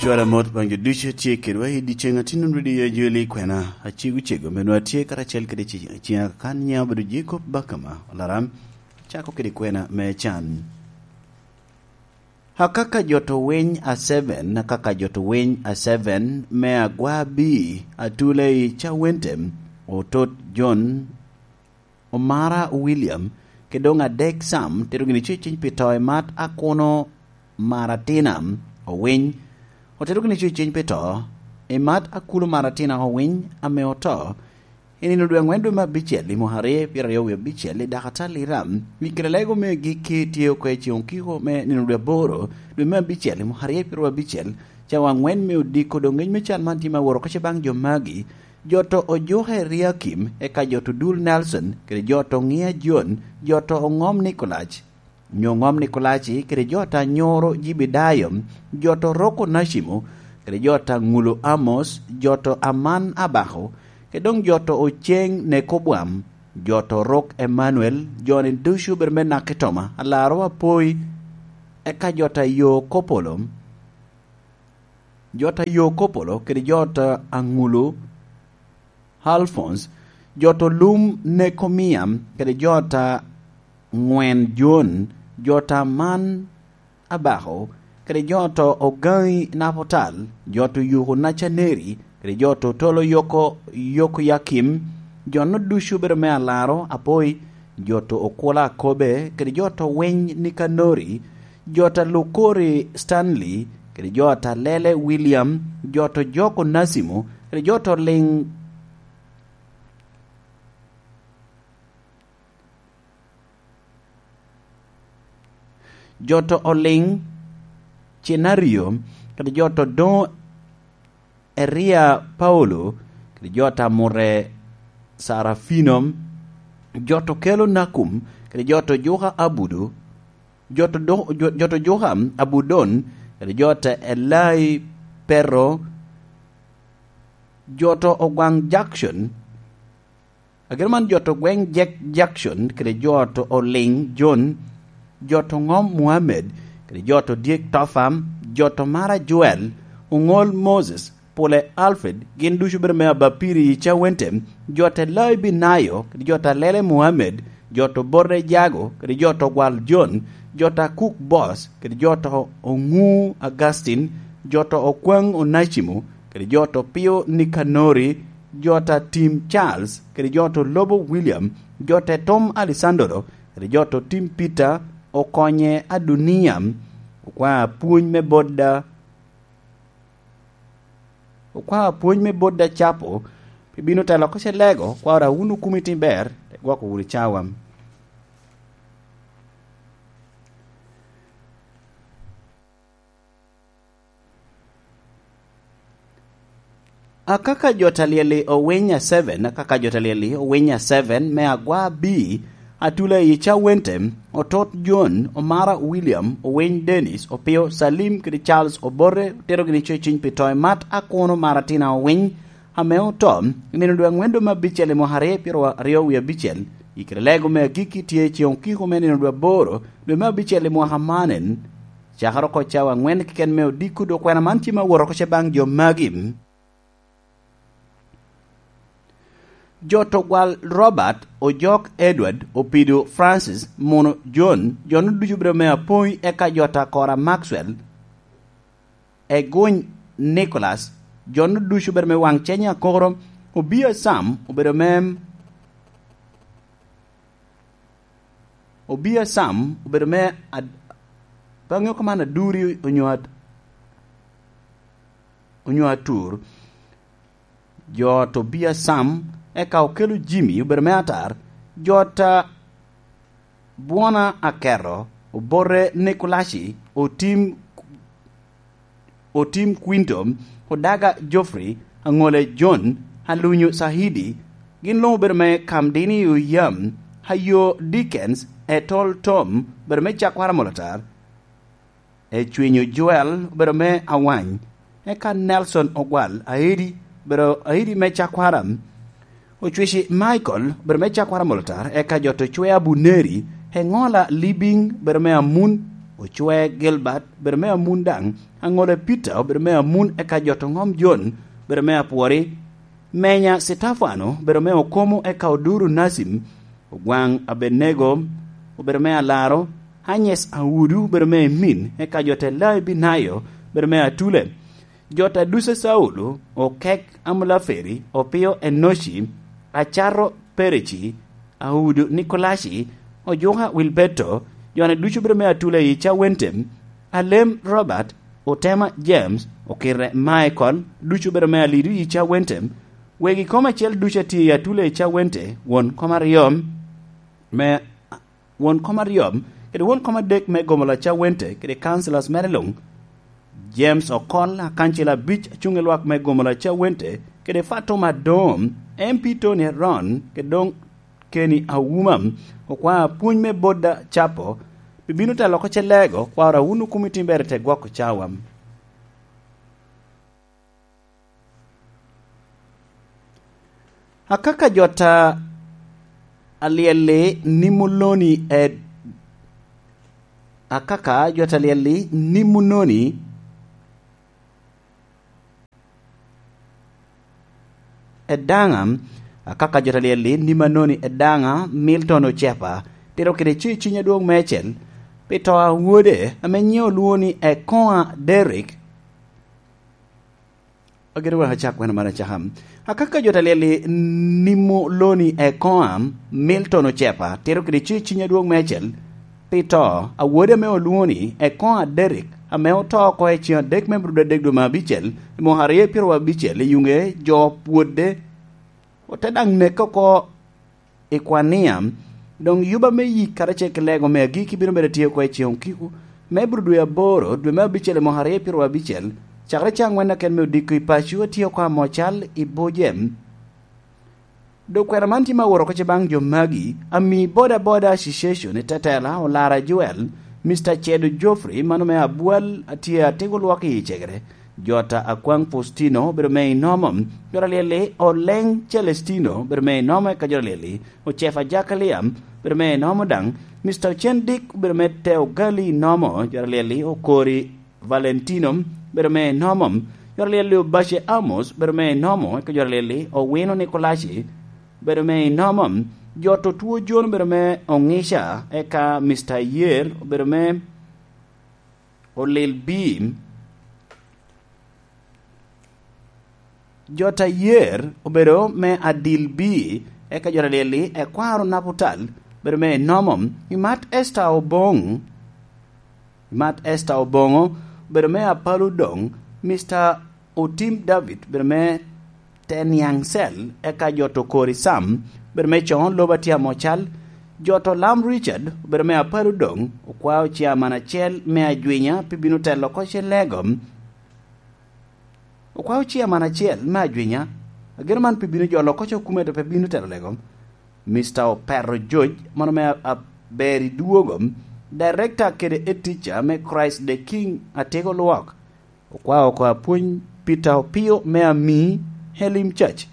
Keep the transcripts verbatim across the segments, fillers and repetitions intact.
Cwara mot baŋ jo ducu tye kedwa i dyeceŋ atin onwodo i ajoli kwena acego cego me nwa tye karacel kede ci-, ciŋa kan nyiŋa obedo Jacob Bakama Olaram, cako kede kwena me can. Akaka jo to winy a seven, akaka jo to winy a seven me agwa bi atula i Cawente, Otot John, Omara William, kede doŋ adek Sam, tero gini cwiny pi to i mat Akuno Maratina Owiny, otero gini cwiny pi to i mat Akulu Maratina Owiny ame oto i nino dwe angwen dwe me abicel i mwaka aryo pyeraryo wie abicel i Dakatali Ram, i kare lego me gikki tye oko i ceŋ okiko me nino dwe aboro dwe me abicel i mwaka aryo pyeraryo abicel, cawa angwen me odiko doŋ ngec me can man tye ma woro kace baŋ jo magi, jo to ojuke Riakim, eka jo to Dul Nelson, kede jo to Ŋia John, jo to Oŋom Nikolac, nyo Oŋom Nikolaci, kede jo to Anyoro Jibidayo, jo to Roko Nacimo, kede jo to Aŋulu Amos, jo to Aman Abako, kede doŋ jo to Oceŋ Nekobwam, jo to Rok Emanuel, jo-ni ducu obedo me Nakitoma, Alaro Apoi, eka jo to Ayo Kopolo, jo ta Yokopolo kede jo ta Aŋulu Alphonse, jo ta Olum Nekomiam kede jo ta Ŋwen Jon, jo ta Man Abako kede jo ta Ogaŋi Naputal, jo ta Oyuku Nacaneri kede jo ta Otolo Yoko, Yokoyakim, jo-nu ducu obedo me Alaro Apoi, jo ta Okula Akobe kede jo ta Winy Nikanori, jo ta Lukori Stanley, kede jo ta Lele William, jo ta Joko Nasimo, kede jo ta Liŋ, jo ta Oliŋ Cenario, kede jo ta Doŋ Eria Paulo, kede jo ta Mure Sarafino, jo ta Okelo Nakum, kede jo ta Ojuka Abudu, jo ta Do-, jo, jo ta Ojuka Abudon, kede jo ta Elai Perro, jo ta Ogwaŋ Jackson, ageno man jo ta Ogweŋ Jack Jackson, kede jo ta Oliŋ John, jo ta Oŋom Muhammed, kede jo ta Odyek Tofa, jo ta Mara Joel, Oŋol Moses, Pule Alfred, gin ducu obedo me Abapiri i Cawente, jo ta Elai Binayo, kede jo ta Lele Muhammed, jo ta Oborde Jago, kede jo ta Ogwal John, jo ta Cook Boss, kede jo ta Oŋu Augustine, jo ta Okwaŋ Onacimo, kede jo ta Opio Nikanori, jo ta Tim Charles, kede jo ta Olobo William, jo ta Etom Alessandro, kede jo ta Otim Peter, Okonye Adunia, okwa apwony me Bodda, okwa apwony me Bodda Capo, pi bino telo oko ce lego, kwa ora wun okumi tim ber, te gwoko wunu cawa. Akaka jo ta Lyeli Owiny a seven, akaka jo ta Lyeli Owiny a seven, me Agwa B, Atula i Cawente, Otot John, Omara William, Owiny Dennis, Opio Salim, kede Charles Obote, otero gini ceciny pi to i mat Akuno Maratina Owiny, ame oto, i nino dwe angwen dwe me abicel i mwaka aryo pyeraryo wie abicel, i kare lego me agikki tye i ceŋ okiko me nino dwe aboro, dwe me abicel i mwaka manen, cakere oko cawa angwen keken me odiko dok kwena man tye ma woro oko ce baŋ jo magi. Jo ta Ogwal Robert, Ojok Edward, Opido Francis, Muno John, jo-nu ducu obedo me Apoi, eka jo ta Kora Maxwell, Eguny Nicholas, jo-nu ducu obedo me Waŋ Cenya Akoro, Obia Sam obedo me Obia Sam obedo me ad-, pe aŋeo ka man Aduri onyo at-, onyo Atur. Jo ta Obia Sam, eka Okelo Jimmy obedo me Atar. Jo ta Bwona Aketo, Obote Nikolaci, Otim Otim Quinto, Odaga Geoffrey, Aŋole John, Alunyo Sahidi, gin luŋ obedo me Kamdini Oyam, Ayo Dickens, Etol Tom, obedo me Cakwara Molatar, Ecwinyo Joel, obedo me Awany, eka Nelson Ogwal, Aedi, obedo Aedi me Cakwara, Ocweci Michael, obedo me Cakwara Molatar, eka jo ta Ocwe Abuneri, Eŋola Libing, obedo me Amun, Ocwe Gilbert, obedo me Amun daŋ, Aŋola Peter obedo me Amun, eka Joto Ŋom Jon obedo me Apwori. Menya Citafano obedo me Okomo, eka Oduru Nacim, Ogwaŋ Abednego obedo me Alaro, Anyes Awudu obedo me Emin, eka Joto Elai Binayo obedo me Atule. Joto Aduce Saulo, Okek Amulaferi, Opio Enoci, Acato Pereci, Audu Nikolaci, Ojuka Wilberto, jo-ni ducu bedo me Atula i Cawente, Alem Robert, Otema James, Okirre Michael, ducu bedo me Alidu i Cawente, wegi kom acel ducu atye i Atula i Cawente, won kom aryo me, won kom aryo, kede won kom adek me Gomola Cawente, kede councillors mere luŋ, James Okol, akancila abic acuŋ i lwak me Gomola Cawente, kede Fatuma Dom, M P Tony Ron, kede doŋ Kenny Auma, okwao apwony me Boda Chapo, pi bino telo oko Celego, kwaro awunu kumi timber i te gwoko cawa. Akaka jota alyelli ni Muloni e, akaka jota alyelli ni Munoni e daŋa, akaka jota alyelli ni Manoni e daŋa, Milton Ocepa, tito kede cwiny adwoŋ meicel, pi to a wode, ame nyiŋe olwoŋo ni Ekoa Derrick, Ageno wek acak kwena mara caka. Akaka jota alyelli ni Muloni Ekoa, Milton Ocepa, tito kede cwiny cwiny adwoŋ meicel, pi to, a wode ame olwoŋo ni Ekoa Derrick, ame oto oko i ceng adek me Abril adek dwe me abicel, i mwaka aryo pyeraryo abicel, i yuŋe jo pwodde, ote daŋ neke oko i Kwania, doŋ yuba me yik karacel ki lego me agikki bino bedo tye oko i ceŋ okiko me Abril dwe aboro, dwe me abicel i mwaka aryo pyeraryo abicel, cakere caŋ ŋwen aken me odiko i paco atye oko amocal i Bojem. Dok kwena man tye ma aworo oko ce baŋ jo magi, ami Boda Boda Association i Tetela, Olara Joel, Mister Cedo Geoffrey, mano me Abwal, atye atego lwak i cegere. Jota Akwaŋ Faustino obedo me inomo, jota alyelli Oleng Celestino obedo me inomo, eka jota alyelli Ocefa Jakalia obedo me inomo daŋ, Mister Ocen Dik obedo me Teo Gali inomo, jota alyelli Okori Valentino obedo me inomo, jota alyelli Obace Amos obedo me inomo, eka jota alyelli Owino Nikolaci obedo me inomo, jota Otwo Jon obedo me Oŋica, eka Mister Ayer obedo me Olil Bim. Jota Ayer obedo me Adil Bim, eka jota alyelli Ekwaro Naputal obedo me inomo, Imat Esther Oboŋ, Imat Esther Oboŋo obedo me Apalu Doŋ, Mister Otim David obedo me Teniaŋ Cel, eka jota Okori Sam obedo me Coŋo Lobo atye amocal, jota Olam Richard obedo me Apalu Doŋ, okwao ciaman acel me Ajwinya pi bino telo oko ce Lego. Okwao ciaman acel me Ajwinya, ageno man pi bino jolo oko ce Okume to pe bino telo Lego. Mister Opero George, mano me a-, aber i dwogo, Director kede Etica me Christ the King Atego Lwok, okwao oko apwony Peter Opio me Ami Elim Church.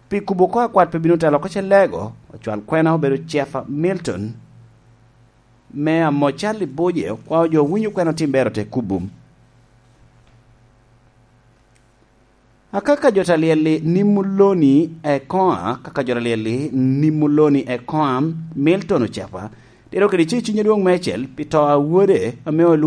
Pi kubo oko akwat pe bino telo oko ce Lego, ocwal kwena obedo Cefa Milton me Amocal i Boje, okwao jo winyo kwena otim ber ote kubo. Akaka jota alyelli ni Muloni Ekoa, akaka jota alyelli ni Muloni Ekoa, Milton Ocepa, tito kede cwiny adwoŋ meicel pi to a wode ame olwoŋo